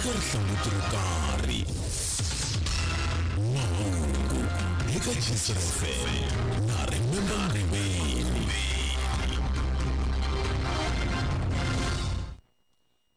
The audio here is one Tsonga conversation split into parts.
eka rihlanguti ro karhi. Mahungu eka Gcr FM na Remember Ngqibeni.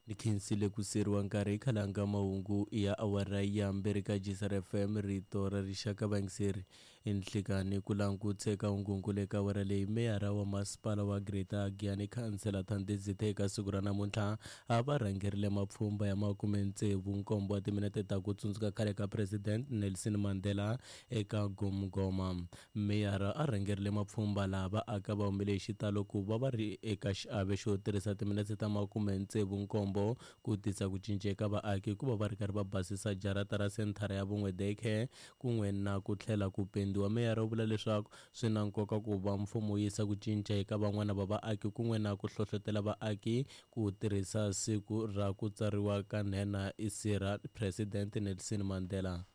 Ni khensile ku seriwa nkarhi hi khalanga mahungu ya awara ya mbirhi ka Gcr FM rito ra rixaka vayingiseri enhlikani ku langutse ka hungunkulu eka awara leyi meyara wa masipala wa Greater Giyani khansela Thandi Zitha eka siku ra namuntlha a va rhangerile mapfhumba ya 67 wa timinete ta ku tsundzuka khale ka President Nelson Mandela eka Gomgoma. Meyara a rhangerile mapfhumba laha vaaka va humile hi xitalo ku va va ri eka xiave xo tirhisa timinete ta 67 ku tisa ku cinca eka vaaki hikuva va ri karhi va basisa jarata ra senthara ya vun'we daycare kun'we na ku tlhela ku pendiwa. Meyara u vula leswaku swi na nkoka ku va mfumo wu yisa ku cinca eka van'wana va vaaki kun'we na ku hlohlotela vaaki ku tirhisa siku ra ku tsariwa ka nhenha isira President Nelson Mandela.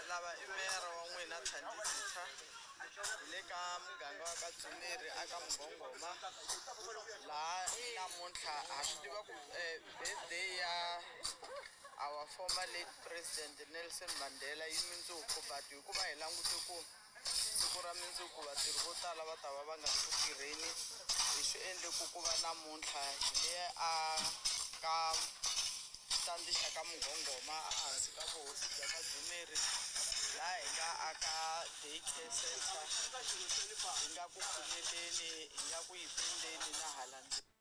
Lava i meyara wa n'wina Thandi Zitha hi le ka muganga wa ka Dzumeri aka Mugongoma laha namuntlha ha swi tiva ku birthday ya our former late president Nelson Mandela yi mundzuku but hikuva hi langute ku siku ra mundzuku vatirhi vo tala va ta va va nga ri ku tirheni hi swi endle ku ku va namuntlha hi le a ka xitandi xa ka Mugongoma ehansi ka vuhosi bya ka Dzumeri laha hi nga aka day care center hi nga ku pfumeleni hi nga ku yi pendeni na hala ndzeni.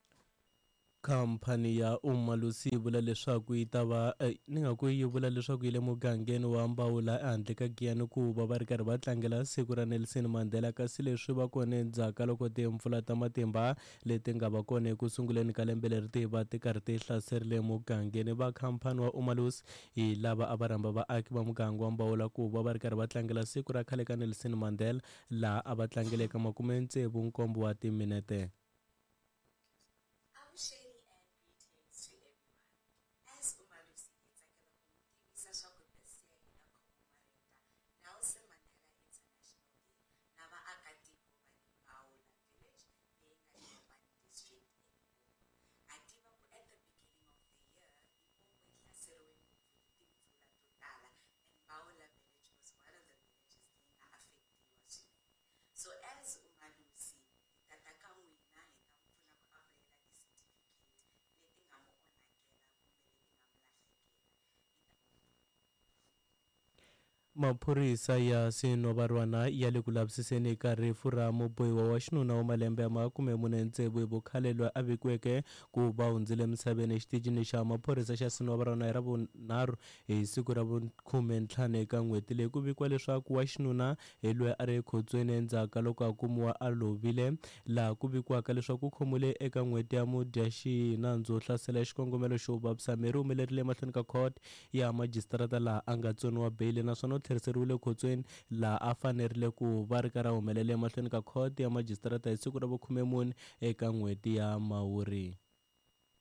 Khamphani ya Umalusi yi vula leswaku yi ta va ni nga ku yi vula leswaku yi le mugangeni wa Mbawula ehandle ka Giyani ku va va ri karhi va tlangela siku ra Nelson Mandela kasi leswi va kona endzhaku ka loko timpfula ta matimba leti nga va kona eku sunguleni ka lembe leri ti va ti karhi ti hlaserile mugangeni. Va khamphani wa Umalusi hi lava a va rhamba vaaki va muganga wa Mbawula ku va va ri karhi va tlangela siku ra khale ka Nelson Mandela laha a va tlangele eka 67 wa timinete. Avuxeni and greetings to everyone. As Umalusi hi tsakela ku mi tivisa swa ku this year hi ta commemorate Nelson Mandela International Day na vaakatiko va le Mbawula Village leyi nga le Mopani District eLimpopo. Ha tiva ku at the beginning of the year Limpopo yi hlaseriwe ngopfu hi timpfula to tala and Mbawula Village was one of the villages leyi nga affectiwa swinene. So as Umalusi hi tata ka n'wina hi ta mi pfuna ku apulayela ti-certificate leti nga mu onhakela kumbe leti nga mu lahlekela. Maphorisa ya Sinovarwana ya le ku lavisiseni ka rifu ra mubohiwa wa xinuna wa malembe ya 46 hi vukhale loyi a vikiweke ku va hundzile emisaveni exitichini xa maphorisa xa Sinovarwana hi Ravunharhu hi siku ra vu-15 eka n'hweti leyi. Ku vikiwa leswaku wa xinuna hi loyi a ri ekhotsweni endzhaku ka loko a kumiwa a lovile, laha ku vikiwaka leswaku u khomiwile eka n'hweti ya Mudyaxihi nandzu wo hlasela hi xikongomelo xo vavisa miri. U humelerile emahlweni ka court ya majisitarata laha a nga tsoniwa beyili naswona u tlheriseriwile ekhotsweni laha a fanerile ku va ri karhi a humelela emahlweni ka court ya majisitarata hi siku ra vu-14 eka n'hweti ya Mhawuri.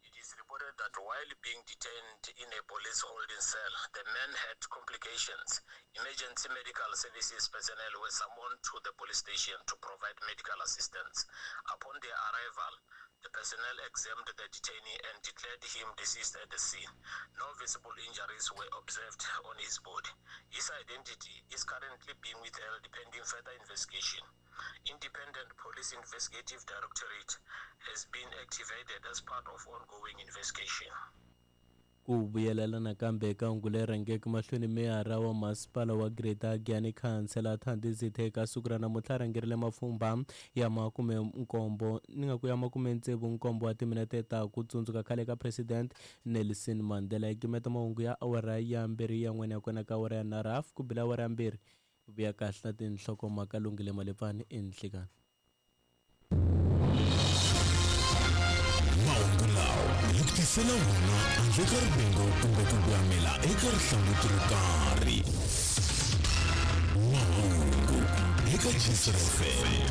It is reported that while being detained in a police holding cell, the man had complications. Emergency medical services personnel were summoned to the police station to provide medical assistance. Upon their arrival, the personnel examined the detainee and declared him deceased at the scene. No visible injuries were observed on his body. His identity is currently being withheld pending further investigation. Independent Police Investigative Directorate has been activated as part of ongoing investigation. Ku vuyelela nakambe eka hungu leri rhangeke mahlweni, meyara wa masipala wa Greater Giyani khansela Thandi Zitha eka siku ra namuntlha a rhangerile mapfhumba ya 70 ni nga ku ya 67 wa timinete ta ku tsundzuka khale ka President Nelson Mandela. Hi gimeta mahungu ya awara ya 2 ya n'wena ya kona ka awara ya 3 hafu ku bila awara ya 2 vuya kahle na tinhlokomhaka Lungile Malepfani enhlikani. Mahungu lawa hi ku tisela wona handle ka rivengo kumbe ku gwamela eka rihlanguti ro karhi. Mahungu eka Gcr FM.